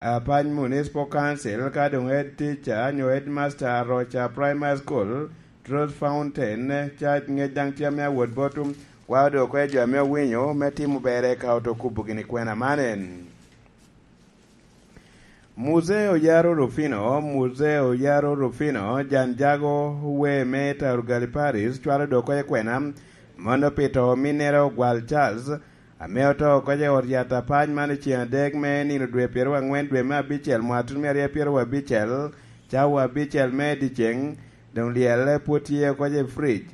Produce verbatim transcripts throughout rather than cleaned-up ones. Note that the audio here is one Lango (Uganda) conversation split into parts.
Apany Municipal Council, ka doŋ head teacher nyo headmaster Aroca Primary School, Truth Fountain Church, ŋec daŋ tye ame awot bot, kwao doŋ okwe jo ame owinyo me timo berre ka oto kubo gini kwena man en. Muzee Oyaro Rufino, Muzee Oyaro Rufino, jan jago we me Tarugali Paris, cwalo doŋ okwe kwena, mono pi to ominnere Ogwal Charles, ame oto oko i ot yat apac man i ceŋ adek me nino dwe pyeraryo aŋwen dwe me abicel mwaka tutumia aryo pyeraryo abicel, cawa abicel me dyeceŋ, doŋ lyelle pwod tye oko i fric.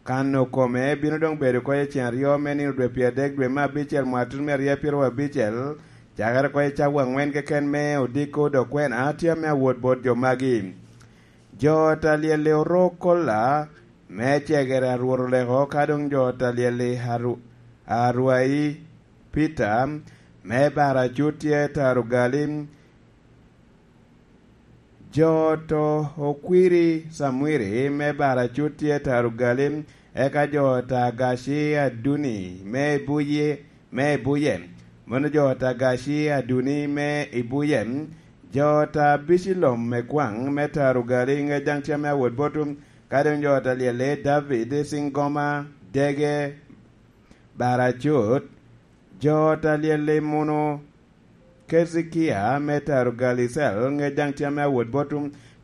Kano kome bino doŋ bedo oko i ceŋ aryo me nino dwe pyeradek dwe me abicel mwaka tutumia aryo pyeraryo abicel, cakere oko i cawa aŋwen keken me odiko dok kwena tye ame awot bot jo magi. Jo ot a lyel-li oro kolla me cegere a Rwot oleko, ka doŋ jo ot a lyel-li Aru-, Arwai Peter me Baracut tye taro gali, jo ot a Okwiri Samwiri me Baracut tye taro gali, eka jo ot a Gaci Aduni me Ibuye, me Ibuye, mono jo ot a Gaci Aduni me Ibuye, jo ot a Bicilom me Kwaŋ me taro gali, ŋec daŋ tye ame awot bot, ka doŋ jo ot a lyel-li David Cingoma Dege Baracut, jo ot a lyel-li mono Kezekia me taro gali cel, ŋec daŋ tye ame awot bot,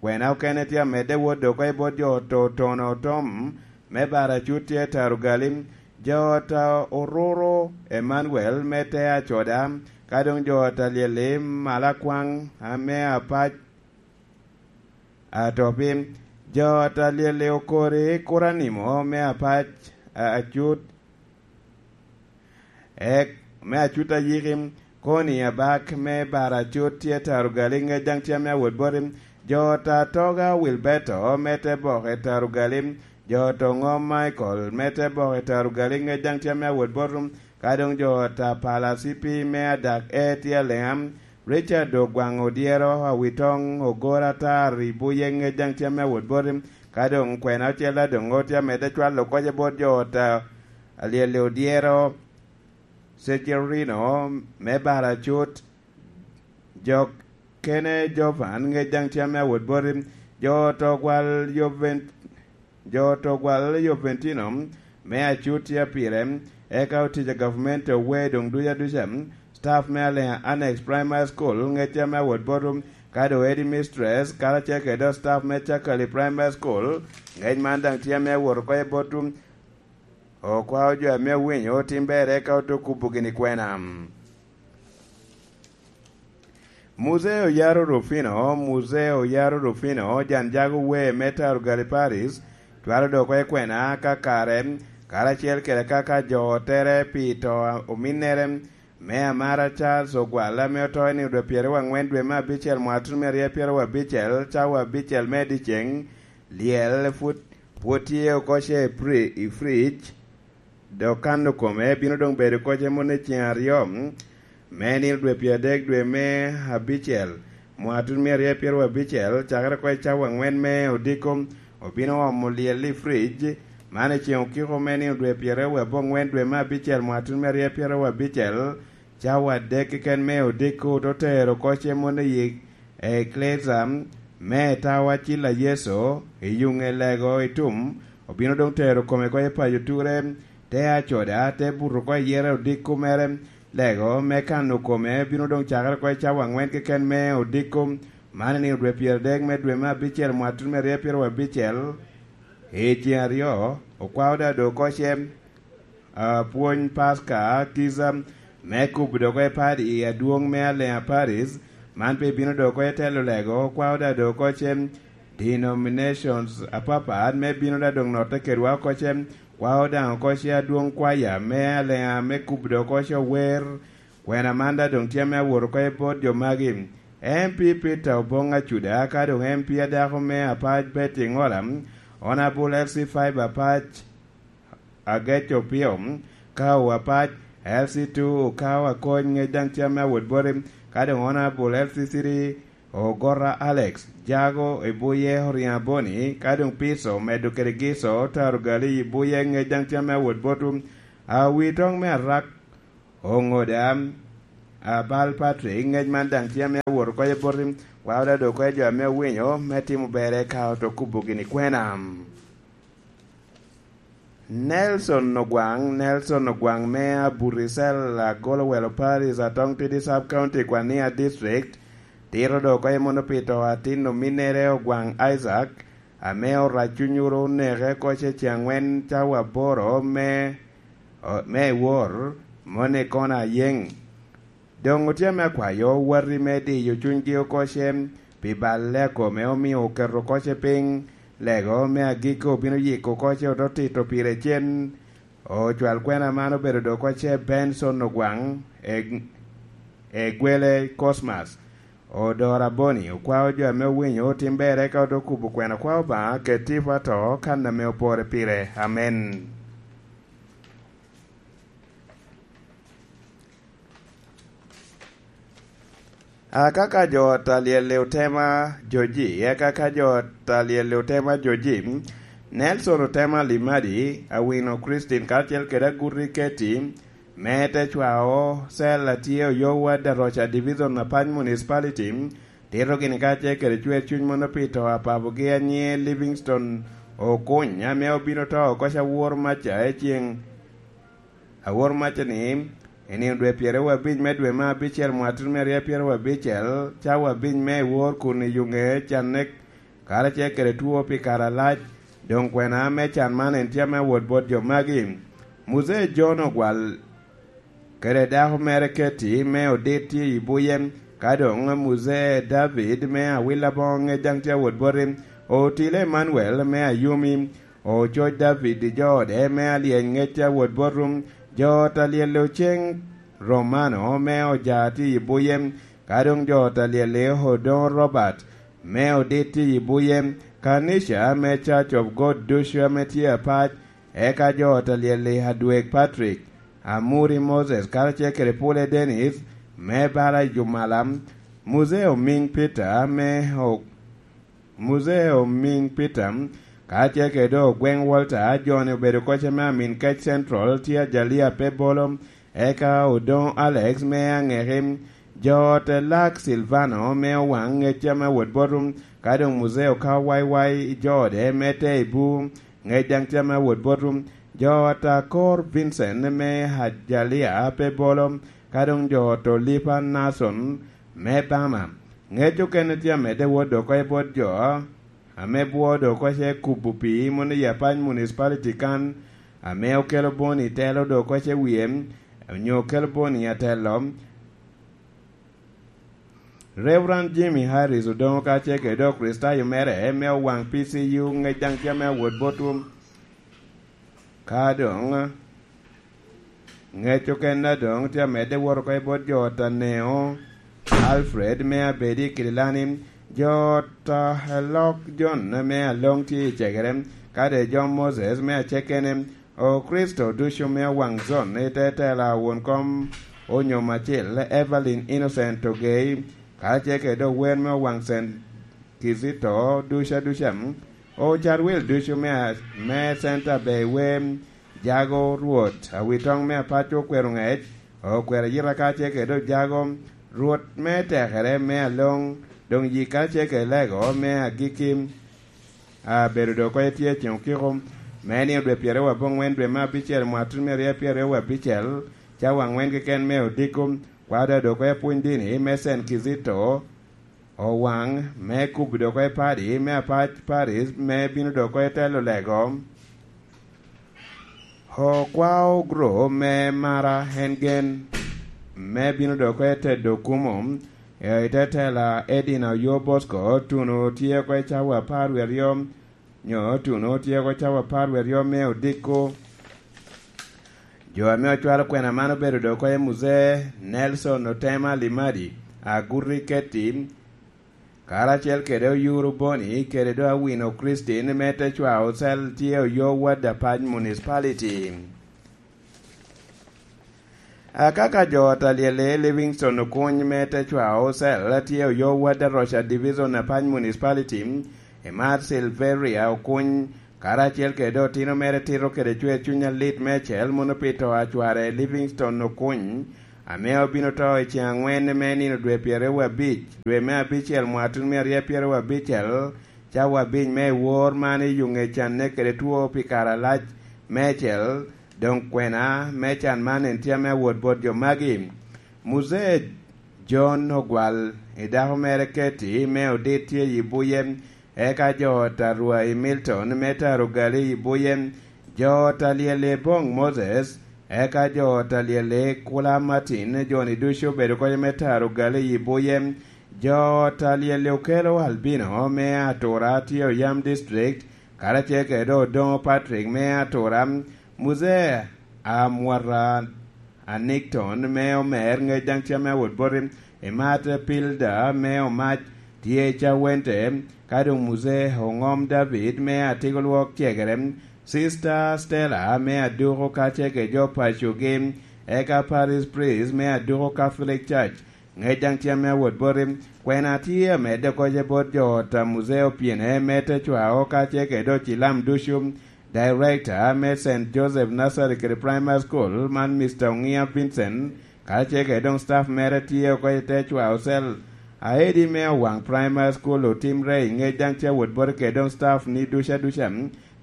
kwena okene tye amedde wot dok oko i bot jo ot a Otono Tom me Baracut tye taro gali, jo ot a Ororo Emmanuel me te Acoda, ka doŋ jo ot a lyel-li Malakwaŋ ame apac Atopi, jo ot a lyel-li Okori Kuranimo me apac a-, Acut, ek, me Acut Ayiki, Koni Abak me Baracut tye taro gali, ŋec daŋ tye ame awot boti, jo ot a Toga Wilberto me te Boke taro gali, jo ot a Oŋom Michael me te Boke taro gali, ŋec daŋ tye ame awot boti, ka doŋ jo ot a Pala Cipi me Adak E tye Aleŋa, Richard Ogwaŋ Odyero Awitoŋ Ogor Atar Ibuye, ŋec daŋ tye ame awot boti, ka doŋ kwena ocel a doŋ tye amedde cwalo oko i bot jo ot a Alyel Odyero Sejerino me Baracut, jo kene Jovan, ŋec daŋ tye ame awot boti, jo ot a Ogwal Joven-, jo ot a Ogwal Joventino me Acut tye pire, eka otic a gavumenti owe doŋ duca duca, staff me Aleŋa Annex Primary School, ŋec tye ame awot bot, ka doŋ headmistress, karacel kede dok staff me Cakali Primary School, ŋec man daŋ tye ame awot oko i bot, okwao jo ame owinyo otim berre, eka oto kubo gini kwena. Muzee Oyaro Rufino, Muzee Oyaro Rufino, jan jago we me Tarugali Paris, twero dok oko i kwena ka kare, karacel kede ka, ka jo otere pi to ominnere, me Amara Charles Ogwal, ame oto i nino dwe pyeraryo aŋwen dwe me abicel mwaka tutumia aryo pyeraryo abicel, cawa abicel me dyeceŋ, lyel pwod, pwod tye oko ce i pri-, i fridge, dok kano kome bino doŋ bedo oko ce mono i ceŋ aryo, me nino dwe pyeradek dwe me abicel, mwaka tutumia aryo pyeraryo abicel, cakere oko i cawa aŋwen me odiko, obino omo lyel i fridge, man i ceŋ okiko me nino dwe pyeraryo aboŋwen dwe me abicel, mwaka tutumia aryo pyeraryo abicel, cawa adek keken me odiko, oto tero oko ce mono i Eklesia me Tawa Cil a Yecu i Yuŋe Lego i Tum, obino doŋ tero kome oko i paco Ture, te Acoda, te buto oko i yere odiko mere. Lego me kano kome bino doŋ cakere oko i cawa aŋwen keken me odiko, man i nino dwe pyeradek me dwe me abicel mwaka tutumia aryo pyeraryo abicel. I ceŋ aryo, okwao daŋ dok oko ce, a, pwony Paska, kica, me kubo dok oko i padi adwoŋ me Aleŋa Paris, man pe bino dok oko i telo Lego, okwao daŋ dok oko ce denominations apapat, me bino daŋ dok notte kedwa oko ce, kwao daŋ oko ce adwoŋ kwaya me Aleŋa me kubo dok oko ce ower, kwena man daŋ doŋ tye ame awot oko i bot jo magi. M P Peter Oboŋ Acuda, ka doŋ M P adako me Apac Betty Ŋola, Honourable L C five Apac Agec Opio, Kao Apac, L C two Okao Akony, ŋec daŋ tye ame awot boti, ka doŋ Honourable L C three Ogora Alex, Jago Ibuye Oriŋo Aboni, ka doŋ Piso medo kede Giso, Taro Gali Ibuye, ŋec daŋ tye ame awot botwu, Awitoŋ me Arak, Oŋoda, Abal Patrick, ŋec man daŋ tye ame awot oko i boti, kwao dado oko i jo ame owinyo me timo berre ka oto kubo gini kwena. Nelson Ogwaŋ, Nelson Ogwaŋ me Aburisel, Agolo Welo Parish, Atong Tidi Sub County, Kwania District, tito dok oko i mono pi to atin ominnere Ogwaŋ Isaac, ame orac cunyoro oneke oko ce ceŋ angwen cawa aboro me, me wor, moni kono ayeŋ. Doŋ otye ame akwayo wati me diyo cunygi oko ce pi balle a kome omio oketo oko ce piny, lego me agikki obino yiko oko ce ote tito pire cen. Ocwal kwena man obedo dok oko ce Benson Ogwaŋ, e, e gwele Cosmas. Odoro Aboni okwao jo ame owinyo otim berre ka ote kubo kwena kwao Obaŋa ket tipo ato kan ame opore pire. Amen. Aka ka jo ot a lyel-li otema joji, eka ka jo ot a lyel-li otema joji, Nelson otema Limadi, Awino Christine karacel kede Aguti Keti, me te cwao cell a tye Oyowa Daroca Division Apac Municipality, tito gini kacel kede cwer cuny mono pi to a papogi a nyiŋe Livingstone Okuny, ame obino to oko ca woro maca i ceŋ Awor maca ni, i nino dwe pyeraryo abic me dwe me abicel mwatiri me aryo pyeraryo abicel, cawa abic me i wor kun i yuŋe canne karacel kede two pi kare alac, doŋ kwena me can man en tye ame awot bot jo magi. Muzee John Ogwal kede dako mere Keti me Odit tye i buye, ka doŋ Muzee David me Awila Boŋ daŋ tye awot boti, Otile Emmanuel me Ayumi, Ococ David i jo ode me alyeny ŋec a wot botum, jo ot a lyelle Oceŋ Romano me Oja tye i buye, ka doŋ jo ot a lyelle Odoŋo Robert me Odit tye i buye, kanica me Church of God ducu ame tye apac, eka jo ot a lyelle Adweg Patrick, Amuri Moses karacel kede Pule Dennis me bala i Jumala, Muzee Omiŋ Peter me O- Muzee Omiŋ Peter, kacel kede Ogweŋ Walter, jo-ni obedo koc ame Amin Kec Central, tye Ajalia Pebolo, eka Odoŋo Alex me Aŋeki, jo ot Elak Silvano me Owaŋ ŋec ame awot botum, ka doŋ Muzee Okawo Waiwai, jo ode me Teibu, ŋec daŋ tye ame awot botum, jo ot Akor Vincent me Ajalia Pebolo, ka doŋ jo ot Olipa Nason me Bama. Ŋec okene tye amedde wot oko i bot jo ame bwoo dok oko ce kubo pii mono i Apac Municipality kan, ame okelo Boni telo dok oko ce wie, onyo okelo Boni atelo. Reverend Jimmy Harris Odoŋo kacel kede Okricitayo mere me Owaŋ P C U ŋec daŋ tye ame awot botwu. Ka doŋ ŋec okene doŋ tye amedde wot oko i bot jo ot Aneo Alfred me Abedi i Kililani, jo ot Elok John me Aloŋ tye i Cegere, ka doŋ John Moses me Acekene, Okricito ducu me Owaŋ Zon i te tela won kom Onyom Acil, Evelyn Innocent Ogei, kacel kede ower me Owaŋ Saint Kizito ducu aduca. Ocarwil ducu me, me Center Bay Wem, jago Rwot, awitoŋ me apaco okwero ŋec, okwero ayita kacel kede ojago, Rwot me tekere me aloŋ, doŋ yik kacel kede lego me agikki, abedo dok oko etye ceŋ okiko, me nino dwe pyeraryo aboŋwen dwe me abicel mwatri me aryo pyeraryo abicel, cawa aŋwen keken me odiko, kwado dok oko epwony dini me Saint Kizito, Owaŋ me kubo dok oko i padi me apac Paris me bino dok oko i telo lego. Okwao gro me Mara en gen me bino dok oko i tedo kumo, i te tela Edina Oyo Bosco, tuno tye oko i cawa apar wie aryo, nyo tuno tye oko cawa apar wie aryo me odiko. Jo ame ocwalo kwena man obedo dok oko i Muzee Nelson Otema Limadi, Aguti Keti, karacel kede Oyuru Boni, kede do Awino Christine me te cwao cel tye Oyo Ward Apac Municipality. Akaka jo ot a lyelle Livingstone Okuny me te cwao cel tye Oyo Ward Aroca Division Apac Municipality, Emar Silveria Okuny, karacel kede otino mere tito kede cwer cuny alit me acel mono pi to a cware Livingstone Okuny, ame obino to i ceŋ aŋwen me nino dwe pyeraryo abic, dwe me abicel, mwatun me aryo pyeraryo abicel, cawa abic me wor man i Yuŋecan kede two pi kare alac meicel. Doŋ kwena me can man en tye ame awot bot jo magi. Muzee John Ogwal, i dako mere Katie me Odit tye i buye, eka jo ot a Rwa i Milton me Taro Gali i buye, jo ot a Lyel i Boŋ Moses, eka jo ot a Lyel i Kula Martin, jo-ni ducu obedo kede me Taro Gali i buye, jo ot a Lyel i Okelo Albino me Atura tye Oyam District, karacel kede Odoŋo Patrick me Atura, Muzee Amwata Anikton me Omer, ŋec daŋ tye ame awot boti, Imat Pilda me Omac tye i Cawente, ka doŋ Muzee Oŋom David me Atiko Lwok Cegere, Sista Stella me Aduko kacel kede jo pacogi, eka Parish Priest me Aduko Catholic Church, ŋec daŋ tye ame awot boti. Kwena tye amedde oko ce bot jo ot a Muzee Opyene me Tecwao kacel kede ocilam ducu, Director me Saint Joseph Nursery kede Primary School man, Mister Oŋia Vincent, kacel kede doŋ staff mere tye oko i Tecwao Cell. Aedi me Owaŋ Primary School otimre i ŋec daŋ tye awot boti kede doŋ staff ni duca duca,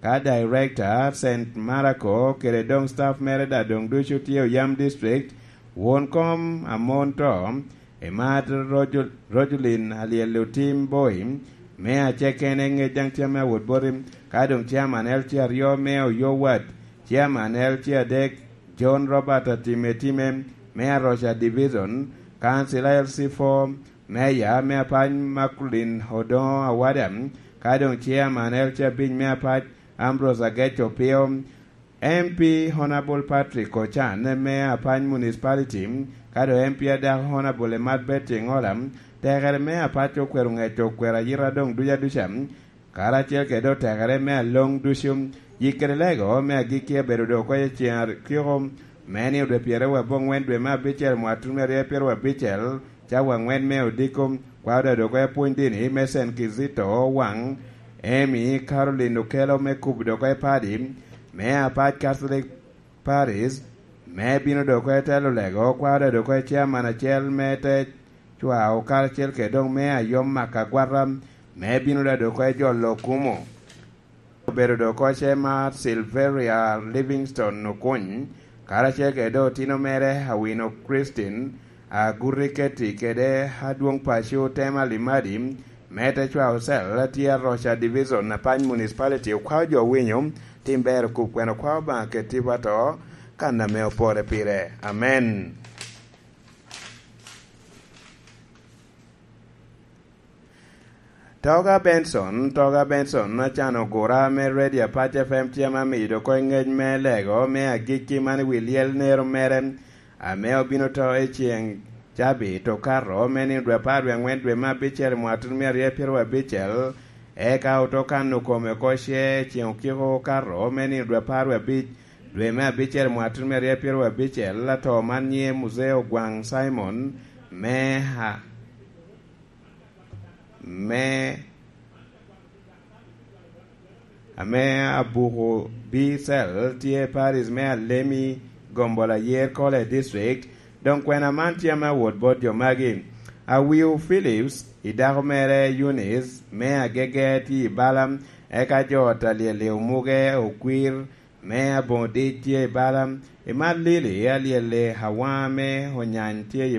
ka Director Saint Marco kede doŋ staff mere daŋ doŋ ducu tye Oyam District. Won kom amon to, Imat Rojo-, Rojulin Alyel Otim Boi, me Acekene, ŋec daŋ tye ame awot boti, ka doŋ Chairman L C aryo me Oyo Ward, Chairman L C adek John Robert Atime Time me Aroca Division, Councilor L C four, Mayor me Apany Makulin Odoŋo Awada, ka doŋ Chairman L C abic me Apac Ambrose Agec Opio, M P Honourable Patrick Ochan me Apany Municipality, ka doŋ M P adako Honourable Emat Betty Ŋola, tekere me Apac okwero ŋec okwero ayita doŋ duca duca, karacel kede otekere me aloŋ ducu, yik kede lego me agikki abedo doŋ oko i ceŋ akiko me nino dwe pyeraryo aboŋwen dwe me abicel mwatun me aryo pyeraryo abicel, cawa aŋwen me odiko, kwao daŋ doŋ oko i pwony dini me Saint Kizito Owaŋ, Amy Caroline Okello me kubo doŋ oko i padi me Apac Catholic Paris, me bino doŋ oko i telo lego, kwao daŋ doŋ oko i chairman acel me te cwao karacel kede doŋ me ayom maka agwata, me bino daŋ doŋ oko i jolo kumo. Obedo doŋ oko ce mar Silveria Livingstone Okuny, karacel kede doŋ otino mere Awino Christine, Aguti Keti kede adwoŋ paco Tema Limadi, me te cwao cel tye Aroca Division, Apany Municipality. Okwao jo winyo, tim ber okup kwene okwao Obaŋa keti wa to, kan ame opore pire. Amen. Toga Benson, Toga Benson, acan ogura me Radio Apac F M tye ame amido oko i ŋec me lego me agikki man i wi lyel nero mere, ame obino to i ceŋ cabit okato me nino dwe apar wie aŋwen dwe me abicel mwatun me aryo pyeraryo abicel, eka oto kano kome oko ce i ceŋ okiko okato me nino dwe apar wie abic dwe me abicel mwatun me aryo pyeraryo abicel, ato man nyiŋe Muzee Ogwaŋ Simon, me ha-, me, ame abuko B cell tye Paris me Alemi, Gombola Yer Kole District. Doŋ kwena man tye ame awot bot jo magi. Awiu Phillips, i dako mere Eunice, me Agege tye i bala, eka jo ot a Lyel i Omuge, Okwir, me Aboŋo Dic tye i bala, i Malili, Alyel i Hawa, me Onyany tye i